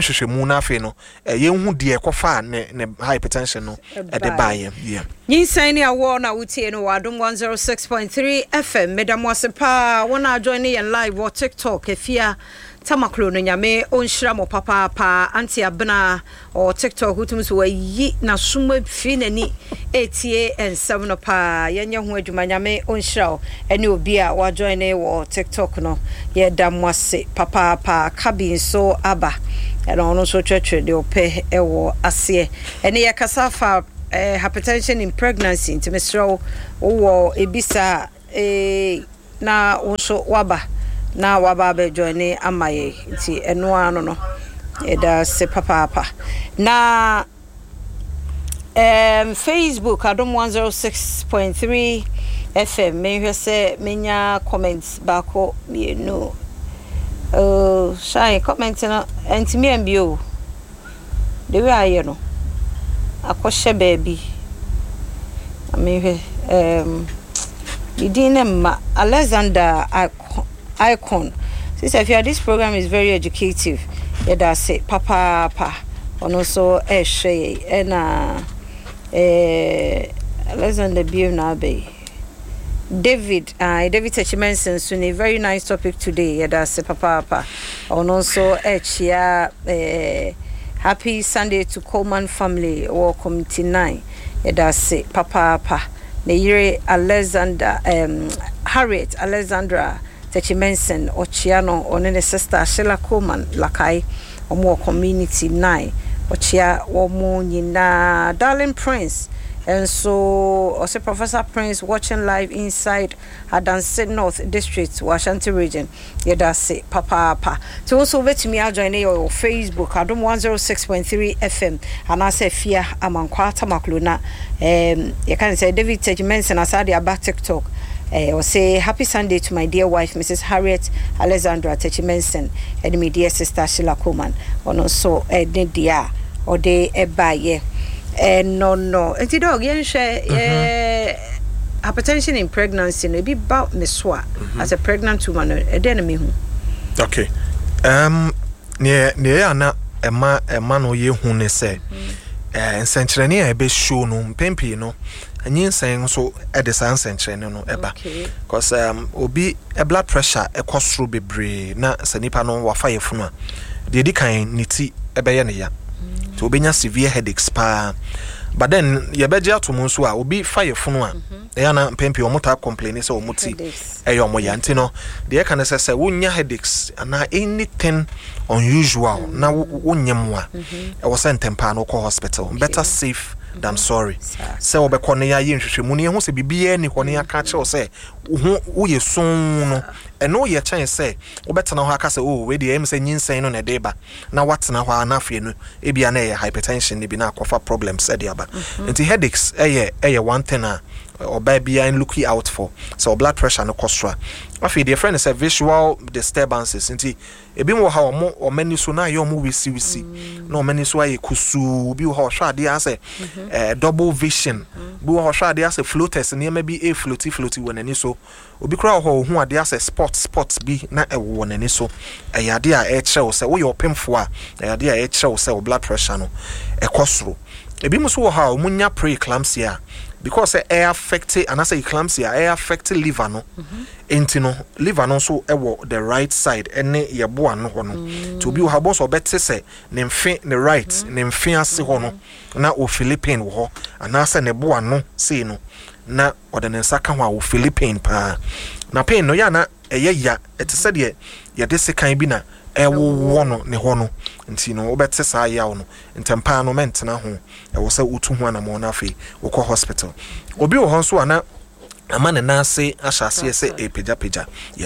Nhwehwɛmu no afei no yɛnhu deɛ ɛkɔfaa ne hypertension no ɛde baeɛ. Yeah. Nyinsɛn ne awoɔ na wotie no wɔ Adom 106.3 FM. Meda mo ase paa wɔn a join ne yɛn live wɔ TikTok. Afia Tamaklo no, Nyame ɔnhyira mo papaapa. Auntie Abena ɔwɔ TikTok, wotumi so wayi n'asom afiri n'ani ɛretie nsɛm no paa. Yɛnyɛ ho adwuma. Nyame ɔnhyira wo ɛne obi a wajoin ne wɔ TikTok no. Yɛda mo ase papaapa. Kabi nso aba ɛna ɔno nso kyerɛkyerɛ deɛ ɔpɛ ɛwɔ aseɛ. Ɛne yɛkasa fa hypertension in pregnancy, nti mesrɛ wo, wowɔ ebi saa a, na wo nso waba na waba abɛjoin ne ama yɛ. Nti ɛno ara no, yɛda ase papaapa. Na Facebook Adom 106.3 FM, menhwɛ sɛ menya comment baako mmienu. Oh, shine comment no ɛntumi ambie o. The way ayɛ no akɔhyɛ baabi. Na mehwɛ ne din ne mma Alexander Icon. Sister Afia, this program is very educative. Yɛda ase papaapa. Ɔno nso ɛrehwɛ yɛn. Ɛna Alexander bio na aba yi. David, David Techimenson nso ni, very nice topic today. Yɛda ase papaapa. Ɔno nso ɛrekyia happy Sunday to Coleman family wɔ Community 9. Yɛda ase papaapa. Ne yere Alexander, Harriet Alexandra Techimenson, ɔkyia no, ɔne ne sister Sheila Coleman Lakai, wɔn wɔ Community 9. Ɔkyia wɔn nyinaa. Darling Prince nso ɔsɛ Professor Prince watching live inside Adanse North District wɔ Ashanti Region. Yɛda ase papaapa. Nti wo nso wobɛtumi ajoin ne yɛ wɔ Facebook Adom 106.3 FM anaasɛ Afia Amankwa Tamaklo. Na yɛka ne sɛ David Techimenson asa de aba TikTok. Ɔsɛ happy Sunday to my dear wife Mrs Harriet Alexandra Techimenson ɛne my dear sister Sheila Coleman. Ɔno nso ne deɛ a ɔde ɛbaeɛ ɛno no. Nti Doc, yɛnhwɛ hypertension in pregnancy no, ebi ba me so a, as a pregnant woman no, ɛdɛn na mehu? Okay, neɛ ɛyɛ ana ɛma no yɛ hu ne sɛ nsɛnkyerɛnne a ɛbɛ show no, mpɛn pii no nyinsɛn nso ɛde saa nsɛnkyerɛnne no ɛba, because obi blood pressure ɛkɔ soro bebree na sɛ nipa no wafa yɛ funu a, deɛ edi kan, ne ti ɛbɛyɛ ne ya, nti obɛnya severe headaches paa. But then yɛbɛgye ato mu nso a, obi fa yɛ funu a, ɛyɛ ana mpɛn pii wɔn taa complain sɛ wɔn ti ɛyɛ wɔn ya. Nti no deɛ ɛka ne sɛ wonya headaches anaa anything unusual na wonyɛ mu a, ɛwɔ sɛ ntɛm paa no wokɔ hospital. Better safe than sorry. Sɛ wɔbɛkɔ no, yɛayɛ nhwehwɛmu no, yɛhu sɛ biribiara ni hɔ no, yɛaka kyerɛw sɛ wo ho woyɛ soo no, ɛno yɛ kyɛn sɛ wobɛtena hɔ aka sɛ, "Oh, wei deɛ ɛyɛ me sɛ nyinsɛn no na ɛde ba," na watena hɔ a, na afei no ebia na ɛyɛ hypertension no bi na akɔfa problems ɛde aba. Nti headaches ɛyɛ one thing a ɔbaa biara look out for sɛ blood pressure no kɔ soro a. Afei deɛ yɛfrɛ no sɛ visual disturbances. Nti ebi wɔ ha, ɔmo ani so na ayɛ ɔmo wisiwisi, na ɔmo ani so ayɛ kusuu. Bi wɔ hɔ, ɔhwɛ adeɛ asɛ double vision. Bi wɔ hɔ, ɔhwɛ adeɛ asɛ floaters, nneɛma bi efloati floati wɔ n'ani so. Obi koraa wɔ hɔ, ohun adeɛ asɛ spot spot bi na ɛwɔ wɔ n'ani so. Ɛyɛ adeɛ a ɛkyerɛ wo sɛ woyɛ ɔpemfoɔ a, ɛyɛ adeɛ a ɛkyerɛ wo sɛ wo blood pressure no ɛkɔ soro. Ebi nso wɔ hɔ a, wɔn nya pre-eclampsia because sɛ ɛyɛ affect anaasɛ eclampsia ɛyɛ affect liver no. Nti no liver no nso ɛwɔ the right side ɛne yɛbo ano hɔ no. Nti obi wɔ ha, ɔbɔ sɛ ɔbɛte sɛ ne mfe, ne right ne mfe ase hɔ no na ofeel pain wɔ hɔ, anaasɛ ne bo ano sei no na ɔde ne nsa ka ho a, ofeel pain paa. Na pain no yɛ ana ɛyɛ ya, ɛte sɛ deɛ yɛde sekan bi na ɛwowɔ no ne hɔ no. Nti no wobɛte saa yaw no ntɛm paa no, mɛntena ho. Ɛwɔ sɛ wotu ho anammɔn no, afei wokɔ hospital. Obi wɔ hɔ nso a, na ama ne nan ase ahyɛ aseɛ sɛ ɛpagyapagya, yes.